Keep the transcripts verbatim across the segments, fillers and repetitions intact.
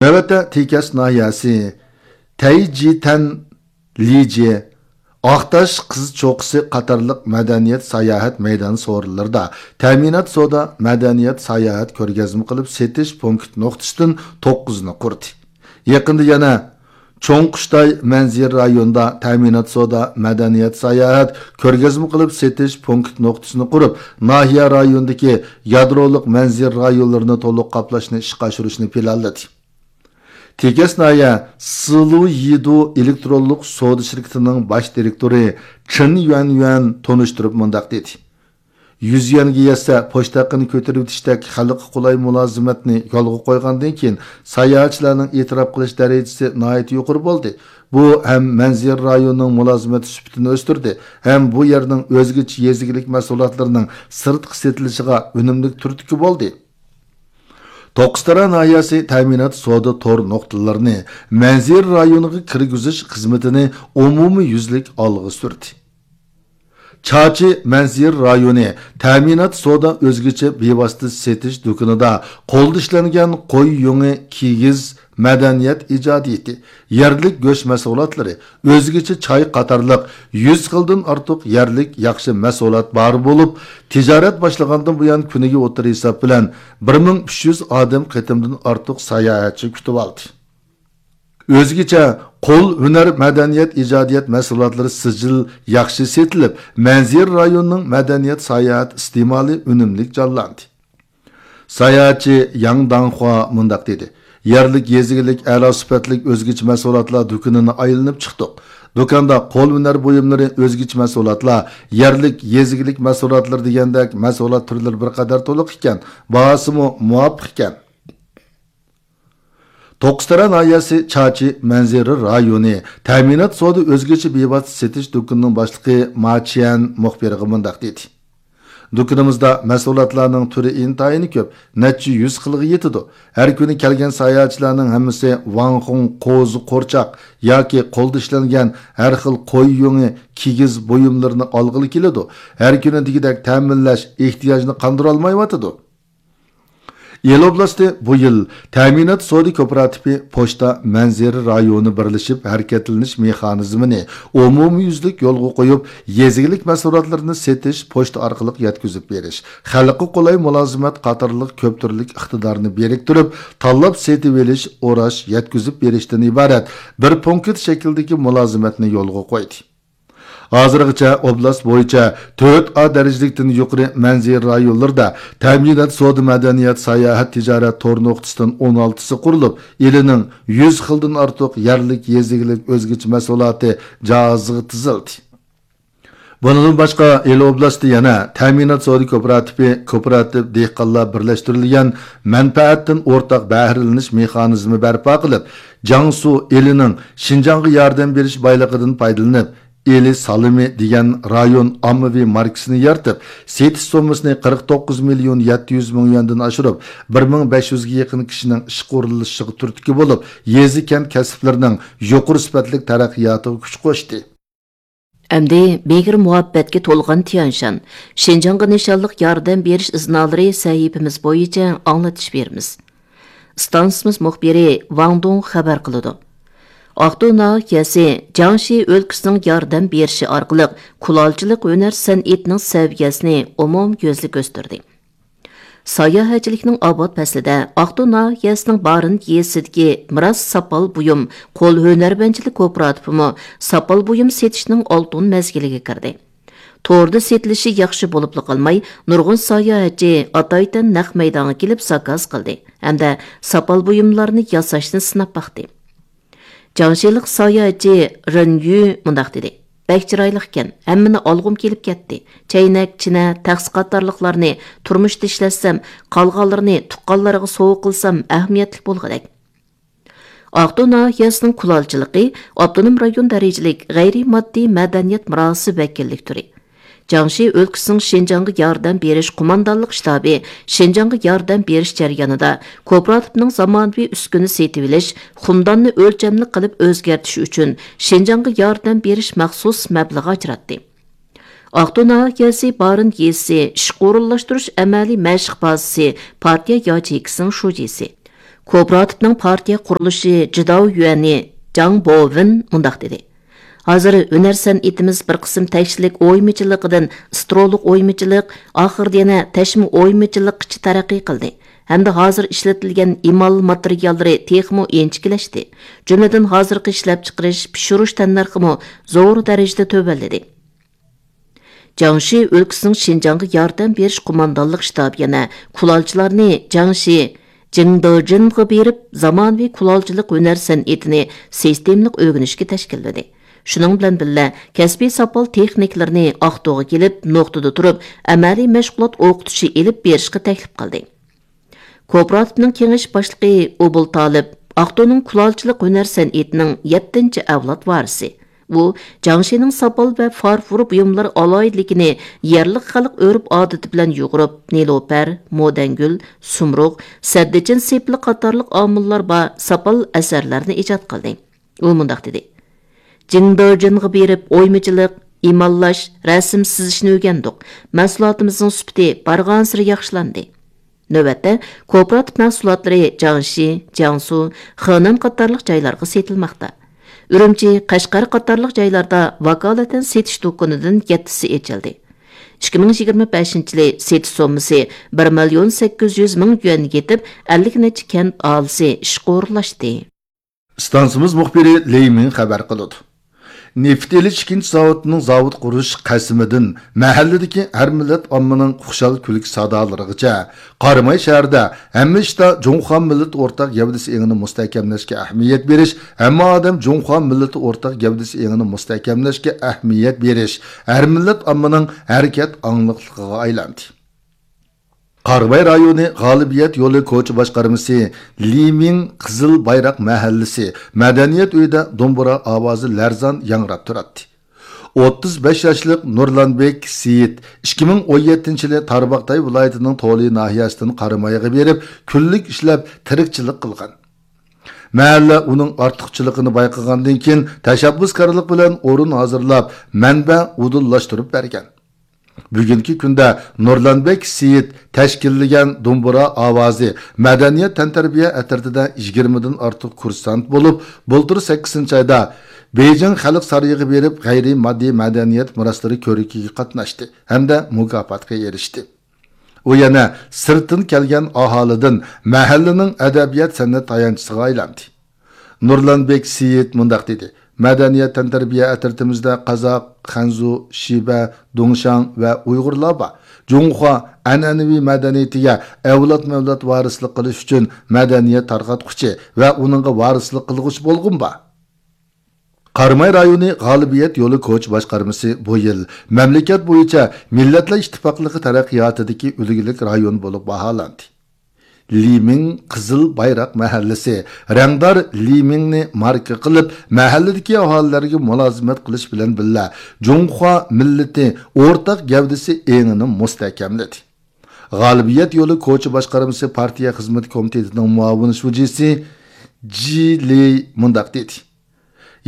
نۆۋەتتە تېكەس ناھىيەسى تەيجىتەن، لىجې، ئاقتاش قىز چوققىسى قاتارلىق مەدەنىيەت ساياھەت مەيدان سورۇنلىرىدا تەمىنات سودا مەدەنىيەت ساياھەت كۆرگەزمە قىلىپ سېتىش پونكىت نۇقتىسىدىن توققۇزنى قۇردى. يېقىندا يەنە چوڭ قۇشتاي مەنزىرە رايونىدا تەمىنات سودا مەدەنىيەت ساياھەت كۆرگەزمە قىلىپ سېتىش پونكىت نۇقتىسىنى قۇرۇپ، ناھىيە رايونىدىكى يادرولۇق مەنزىرە رايونلىرىنى تولۇق قاپلاشنى ئىشقا ئاشۇرۇشنى پىلانلىدى. تېكەس ناھىيە سىلۇيىدۇ ئېلېكترونلۇق سودا شىركىتىنىڭ باش دىرېكتورى چېن يۈەنيۈەن تونۇشتۇرۇپ مۇنداق دېدى: يۈز يۈەنگە يەتسە، پوچتا ھەققىنى كۆتۈرۈۋېتىشتەك خەلققە قولاي مۇلازىمەتنى يولغا قويغاندىن كېيىن، ساياھەتچىلەرنىڭ ئېتىراپ قىلىش دەرىجىسى ناھايىتى يۇقىرى بولدى. بۇ ھەم مەنزىرە رايونىنىڭ مۇلازىمەت سۈپىتىنى ئۆستۈردى، ھەم بۇ يەرنىڭ ئۆزگىچە يېزا ئىگىلىك مەھسۇلاتلىرىنىڭ سىرتقا سېتىلىشىغا ئۈنۈملۈك تۈرتكە بولدى. توققۇزتارا ناھىيەسى تەمىنات سودا تور نۇقتىلىرىنى مەنزىرە رايونىغا كىرگۈزۈش خىزمىتىنى ئومۇميۈزلۈك ئالغا سۈردى. چاچى مەنزىرە رايونى تەمىنات سودا ئۆزگىچە بىۋاسىتە سېتىش دۇكىنىدا قولدا ئىشلەنگەن قوي يۇڭى، كىگىز، مەدەنىيەت ئىجادىيىتى، يەرلىك گۆش مەھسۇلاتلىرى، ئۆزگىچە چاي قاتارلىق يۈز خىلدىن ئارتۇق يەرلىك ياخشى مەھسۇلات بار بولۇپ، تىجارەت باشلىغاندىن بۇيان كۈنىگە ئوتتۇرا ھېساب بىلەن بىر مىڭ ئۈچ يۈز ئادەم قېتىمدىن ئارتۇق ساياھەتچى كۈتۈۋالدى. ئۆزگىچە قول ھۈنەر مەدەنىيەت ئىجادىيەت مەھسۇلاتلىرى سىجىل ياخشى سېتىلىپ، مەنزىرە رايونىنىڭ مەدەنىيەت ساياھەت ئىستېمالى ئۈنۈملۈك جانلاندى. ساياھەتچى ياڭ داڭخۇا مۇنداق دېدى: يەرلىك يېزا ئىگىلىك ئەلا سۈپەتلىك ئۆزگىچە مەھسۇلاتلار دۇكىنىنى ئايلىنىپ چىقتۇق. دۇكاندا قول ھۈنەر بۇيۇملىرى، ئۆزگىچە مەھسۇلاتلار، يەرلىك يېزا ئىگىلىك مەھسۇلاتلىرى دېگەندەك مەھسۇلات تۈرلىرى بىر قەدەر تولۇق ئىكەن، باھاسىمۇ مۇۋاپىق ئىكەن. توققۇزتارا ناھىيەسى چاچى مەنزىرە رايونى تەمىنات سودا ئۆزگىچە بىۋاسىتە سېتىش دۇكىنىنىڭ باشلىقى ما چيەن مۇخبىرغا مۇنداق دېدى: دۇكىنىمىزدا مەھسۇلاتلارنىڭ تۈرى ئىنتايىن كۆپ، نەچچە يۈز خىلغا يېتىدۇ. ھەر كۈنى كەلگەن ساياھەتچىلەرنىڭ ھەممىسى ۋاڭخۇڭ قوزا قورچاق ياكى قولدا ئىشلەنگەن ھەر خىل قوي يۇڭى، كىگىز بۇيۇملىرىنى ئالغىلى كېلىدۇ. ھەر كۈنى دېگۈدەك تەمىنلەش ئېھتىياجىنى قاندۇرالمايۋاتىدۇ. ئىلى ئوبلاستى بۇ يىل تەمىنات سودا كوپىراتىپى پوچتا مەنزىرە رايونى بىرلىشىپ ھەرىكەتلىنىش مېخانىزمىنى ئومۇميۈزلۈك يولغا قويۇپ، يېزا ئىگىلىك مەھسۇلاتلىرىنى سېتىش، پوچتا ئارقىلىق يەتكۈزۈپ بېرىش، خەلققە قولاي مۇلازىمەت قاتارلىق كۆپ تۈرلۈك ئىقتىدارنى بىرىكتۈرۈپ، تاللاپ سېتىۋېلىش، ئوراش، يەتكۈزۈپ بېرىشتىن ئىبارەت بىر پونكىت شەكلىدىكى مۇلازىمەتنى يولغا قويدى. ھازىرغىچە ئوبلاست بويىچە تۆت ئا دەرىجىلىكتىن يۇقىرى مەنزىرە رايونلىرىدا تەمىنات سودا مەدەنىيەت ساياھەت تىجارەت تور نۇقتىسىدىن ئون ئالتىسى قۇرۇلۇپ، ئىلىنىڭ يۈز خىلدىن ئارتۇق يەرلىك يېزا ئىگىلىك ئۆزگىچە مەھسۇلاتى جاھازىغا تىزىلدى. بۇنىڭدىن باشقا، ئىلى ئوبلاستى يەنە تەمىنات سودا كوپىراتىپى، كوپىراتىپ دېھقانلار بىرلەشتۈرۈلگەن مەنپەئەتتىن ئورتاق بەھرىلىنىش مېخانىزمى بەرپا قىلىپ، جياڭسۇ ئىلىنىڭ شىنجاڭغا ياردەم بېرىش بايلىقىدىن پايدىلىنىپ، ئىلى سالىمى دېگەن رايون ئاممىۋى ماركىسىنى يارىتىپ، سېتىش سوممىسىنى قىرىق توققۇز مىليون يەتتە يۈز مىڭ يۈەندىن ئاشۇرۇپ، بىر مىڭ بەش يۈزگە يېقىن كىشىنىڭ ئىشقا ئورۇنلىشىشىغا تۈرتكە بولۇپ، يېزا، كەنت كەسىپلىرىنىڭ يۇقىرى سۈپەتلىك تەرەققىياتىغا كۈچ قوشتى. ئەمدى مېھىر مۇھەببەتكە تولغان تيەنشان، شىنجاڭغا نىشانلىق ياردەم بېرىش ئىزنالىرى سەھىپىمىز بويىچە ئاڭلىتىش بېرىمىز. ئىستانسىمىز مۇخبىرى ۋاڭ دۇڭ خەۋەر قىلىدۇ. ئاقتۇ ناھىيەسى جياڭشى ئۆلكىسىنىڭ ياردەم بېرىشى ئارقىلىق كۇلالچىلىق ھۈنەر سەنئىتىنىڭ سەۋىيەسىنى ئومۇميۈزلۈك ئۆستۈردى. ساياھەتچىلىكنىڭ ئاۋات پەسلىدە ئاقتۇ ناھىيەسىنىڭ بارىن يېزىسىدىكى مىراس ساپال بۇيۇم قول ھۈنەرۋەنچىلىك كوپىراتىپىمۇ ساپال بۇيۇم سېتىشنىڭ ئالتۇن مەزگىلىگە كىردى. توردا سېتىلىشى ياخشى بولۇپلا قالماي، نۇرغۇن ساياھەتچى ئاتايتەن نەق مەيدانغا كېلىپ زاكاز قىلدى ھەمدە ساپال بۇيۇملارنى ياساشنى سىناپ باقتى. جياڭشىلىق ساياھەتچى رېن يۈ مۇنداق دېدى: بەك چىرايلىقكەن، ھەممىنى ئالغۇم كېلىپ كەتتى. چەينەك، چىنە، تەخسە قاتارلىقلارنى تۇرمۇشتا ئىشلەتسەم، قالغانلىرىنى تۇغقانلارغا سوۋغا قىلسام ئەھمىيەتلىك بولغۇدەك. ئاقتۇ ناھىيەسىنىڭ كۇلالچىلىقى ئاپتونوم رايون دەرىجىلىك غەيرىي ماددىي مەدەنىيەت مىراسى ۋەكىللىك تۈرى، جياڭشى ئۆلكىسىنىڭ شىنجاڭغا ياردەم بېرىش قوماندانلىق شتابى شىنجاڭغا ياردەم بېرىش جەريانىدا كوپىراتىپنىڭ زامانىۋى ئۈسكۈنە سېتىۋېلىش، خۇمداننى ئۆلچەملىك قىلىپ ئۆزگەرتىش ئۈچۈن شىنجاڭغا ياردەم بېرىش مەخسۇس مەبلىغى ئاجراتتى. ئاقتۇ ناھىيەسى بارىن يېزىسى ئىشقا ئورۇنلاشتۇرۇش ئەمەلىي مەشىق بازىسى پارتىيە ياچېيكىسىنىڭ شۇجىسى، كوپىراتىپنىڭ پارتىيە قۇرۇلۇشى جىداۋ يۈەنى جاڭ بوۋېن مۇنداق دېدى: ھازىر ھۈنەر سەنئىتىمىز بىر قىسىم تەكشىلىك ئويمىچىلىقىدىن سترولۇق ئويمىچىلىق، ئاخىرىدا يەنە تەشمە ئويمىچىلىققىچە تەرەققىي قىلدى ھەمدە ھازىر ئىشلىتىلگەن ئېمال ماتېرىياللىرى تېخىمۇ ئىنچىكىلەشتى. جۈملىدىن ھازىرقى ئىشلەپچىقىرىش، پىشۇرۇش تەننەرخىمۇ زور دەرىجىدە تۆۋەنلىدى. جياڭشى ئۆلكىسىنىڭ شىنجاڭغا ياردەم بېرىش قوماندانلىق شتابى يەنە كۇلالچىلارنى جياڭشى جىڭدېجىنغا بېرىپ، زامانىۋى كۇلالچىلىق ھۈنەر سەنئىتىنى سىستېمىلىق ئۆگىنىشكە تەشكىللىدى. شۇنىڭ بىلەن بىللە، كەسپىي ساپال تېخنىكلىرىنى ئاقتۇغا كېلىپ، نۇقتىدا تۇرۇپ، ئەمەلىي مەشغۇلات ئوقۇتۇشى ئېلىپ بېرىشقا تەكلىپ قىلدى. كوپىراتىپنىڭ كېڭەش باشلىقى ئوبۇل تالىپ، ئاقتۇنىڭ كۇلالچىلىق ھۈنەر سەنئىتىنىڭ يەتتىنچى ئەۋلاد ۋارىسى. ئۇ جياڭشىنىڭ ساپال ۋە فارفور بۇيۇملار ئالاھىدىلىكىنى يەرلىك خەلق ئۆرپ-ئادىتى بىلەن يۇغۇرۇپ، نېلۇپەر، مودەنگۈل، سۇمرۇغ، سەددىچىن سېپىلى قاتارلىق ئامىللار بار ساپال ئەسەرلەرنى ئىجاد قىلدى. ئۇ مۇنداق دېدى: جىڭدېجىنغا بېرىپ ئويمىچىلىق، ئىماللاش، رەسىم سىزىشنى ئۆگەندۇق. مەھسۇلاتىمىزنىڭ سۈپىتى بارغانسېرى ياخشىلاندى. نۆۋەتتە، كوپىراتىپ مەھسۇلاتلىرى جياڭشى، جياڭسۇ، خېنەن قاتارلىق جايلارغا سېتىلماقتا. ئۈرۈمچى، قەشقەر قاتارلىق جايلاردا ۋاكالىتەن سېتىش دۇكىنىدىن يەتتىسى ئېچىلدى. ئىككى مىڭ يىگىرمە بەشىنچى يىلى سېتىش سوممىسى بىر مىليون سەككىز يۈز مىڭ يۈەنگە يېتىپ، ئەللىك نەچچە كەنت ئاھالىسى ئىشقا ئورۇنلاشتى. ئىستانسىمىز مۇخبىرى لېي مىڭ خەۋەر قىلىدۇ. نېفىت ئېلىش ئىككىنچى زاۋۇتىنىڭ زاۋۇت قۇرۇش قەسىمىدىن مەھەللىدىكى ھەر مىللەت ئاممىنىڭ خۇشال كۈلكە سادالىرىغىچە، قاراماي شەھىرىدە ھەممە ئىشتا جۇڭخۇا مىللىتى ئورتاق گەۋدىسى ئېڭىنى مۇستەھكەملەشكە ئەھمىيەت بېرىش، ھەممە ئادەم جۇڭخۇا مىللىتى ئورتاق گەۋدىسى ئېڭىنى مۇستەھكەملەشكە ئەھمىيەت بېرىش ھەر مىللەت ئاممىنىڭ ھەرىكەت ئاڭلىقلىقىغا ئايلاندى. قاراماي رايونى غالىبىيەت يولى كوچا باشقارمىسى لى مىڭ قىزىل بايراق مەھەللىسى مەدەنىيەت ئۆيىدە دومبۇرا ئاۋازى لەرزان ياڭراپ تۇراتتى. ئوتتۇز بەش ياشلىق نۇرلانبېك سېيىت ئىككى مىڭ ئون يەتتىنچى يىلى تارباغاتاي ۋىلايىتىنىڭ تولى ناھىيەسىدىن قارامايغا بېرىپ، كۈنلۈك ئىشلەپ تىرىكچىلىك قىلغان. مەھەللە ئۇنىڭ ئارتۇقچىلىقىنى بايقىغاندىن كېيىن، تەشەببۇسكارلىق بىلەن ئورۇن ھازىرلاپ، مەنبە ئۇدۇللاشتۇرۇپ بەرگەن. بۈگۈنكى كۈندە نۇرلانبېك سېيىت تەشكىللىگەن دومبۇرا ئاۋازى مەدەنىيەت تەنتەربىيە ئەترىتىدە يىگىرمىدىن ئارتۇق كۇرسانت بولۇپ، بۇلتۇر سەككىزىنچى ئايدا بېيجىڭ خەلق سارىيىغا بېرىپ، غەيرىي ماددىي مەدەنىيەت مىراسلىرى كۆرىكىگە قاتناشتى ھەمدە مۇكاپاتقا ئېرىشتى. ئۇ يەنە سىرتتىن كەلگەن ئاھالىدىن مەھەللىنىڭ ئەدەبىيات-سەنئەت تايانچىسىغا ئايلاندى. نۇرلانبېك سېيىت مۇنداق دېدى: مەدەنىيەت تەنتەربىيە ئەترىتىمىزدە قازاق، خەنزۇ، شىبە، دۇڭشاڭ ۋە ئۇيغۇرلار بار. جۇڭخۇا ئەنئەنىۋى مەدەنىيىتىگە ئەۋلادمۇ-ئەۋلاد ۋارىسلىق قىلىش ئۈچۈن مەدەنىيەت تارقاتقۇچى ۋە ئۇنىڭغا ۋارىسلىق قىلغۇچى بولغۇم بار. قاراماي رايونى غالىبىيەت يولى كوچا باشقارمىسى بۇ يىل مەملىكەت بويىچە مىللەتلەر ئىتتىپاقلىقى تەرەققىياتىدىكى ئۈلگىلىك رايون بولۇپ باھالاندى. لىمىڭ قىزىل بايراق مەھەللىسى رەڭدار لىمىڭنى ماركا قىلىپ، مەھەللىدىكى ئاھالىلەرگە مۇلازىمەت قىلىش بىلەن بىللە، جۇڭخۇا مىللىتى ئورتاق گەۋدىسى ئېڭىنى مۇستەھكەملىدى. غالىبىيەت يولى كوچا باشقارمىسى پارتىيە خىزمىتى كومىتېتىنىڭ مۇئاۋىن شۇجىسى جى لېي مۇنداق دېدى: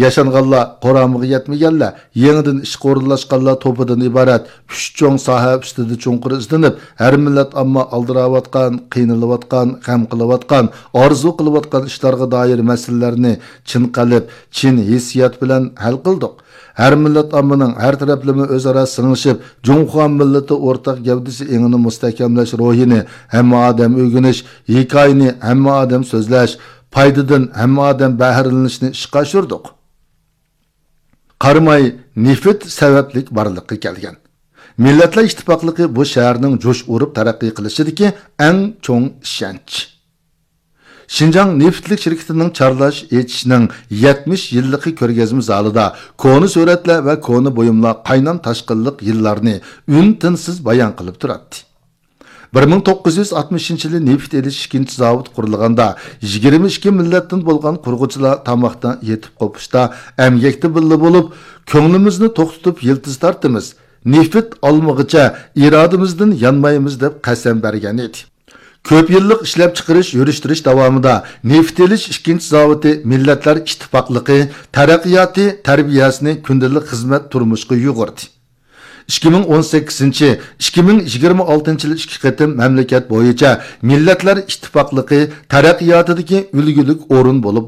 ياشانغانلار، قۇرامىغا يەتمىگەنلەر، يېڭىدىن ئىشقا ئورۇنلاشقانلار توپىدىن ئىبارەت ئۈچ چوڭ ساھە ئۈستىدە چوڭقۇر ئىزدىنىپ، ھەر مىللەت ئامما ئالدىراۋاتقان، قىينىلىۋاتقان، غەم قىلىۋاتقان، ئارزۇ قىلىۋاتقان ئىشلارغا دائىر مەسىلىلەرنى چىن قەلب، چىن ھېسسىيات بىلەن ھەل قىلدۇق. ھەر مىللەت ئاممىنىڭ ھەر تەرەپلىمە ئۆزئارا سىڭىشىپ، جۇڭخۇا مىللىتى ئورتاق گەۋدىسى ئېڭىنى مۇستەھكەملەش روھىنى ھەممە ئادەم ئۆگىنىش، ھېكايىنى ھەممە ئادەم سۆزلەش، پايدىدىن ھەممە ئادەم بەھرىلىنىشنى ئىشقا ئاشۇردۇق. قاراماي نېفىت سەۋەبلىك بارلىققا كەلگەن. مىللەتلەر ئىتتىپاقلىقى بۇ شەھەرنىڭ جۇش ئۇرۇپ تەرەققىي قىلىشىدىكى ئەڭ چوڭ ئىشەنچ. شىنجاڭ نېفىتلىك شىركىتىنىڭ چارلاش ئېچىشنىڭ يەتمىش يىللىقى كۆرگەزمە زالىدا كونا سۈرەتلەر ۋە كونا بۇيۇملار قاينام تاشقىنلىق يىللارنى ئۈن-تىنسىز بايان قىلىپ تۇراتتى. بىر مىڭ توققۇز يۈز ئاتمىشىنچى يىلى نېفىت ئېلىش ئىككىنچى زاۋۇتى قۇرۇلغاندا، يىگىرمە ئىككى مىللەتتىن بولغان قۇرغۇچىلار تاماقتا، يېتىپ قوپۇشتا، ئەمگەكتە بىللە بولۇپ، كۆڭلىمىزنى توختىتىپ يىلتىز تارتىمىز، نېفىت ئالمىغىچە ئىرادىمىزدىن يانمايمىز دەپ قەسەم بەرگەن ئىدى. كۆپ يىللىق ئىشلەپچىقىرىش، يۈرۈشتۈرۈش داۋامىدا نېفىت ئېلىش ئىككىنچى زاۋۇتى مىللەتلەر ئىتتىپاقلىقى، تەرەققىياتى، تەربىيەسىنى كۈندىلىك خىزمەت تۇرمۇشقا يۇغۇردى. ئىككى مىڭ ئون سەككىزىنچى، ئىككى مىڭ يىگىرمە ئالتىنچى يىل ئىككى قېتىم مەملىكەت بويىچە مىللەتلەر ئىتتىپاقلىقى تەرەققىياتىدىكى ئۈلگىلىك ئورۇن بولۇپ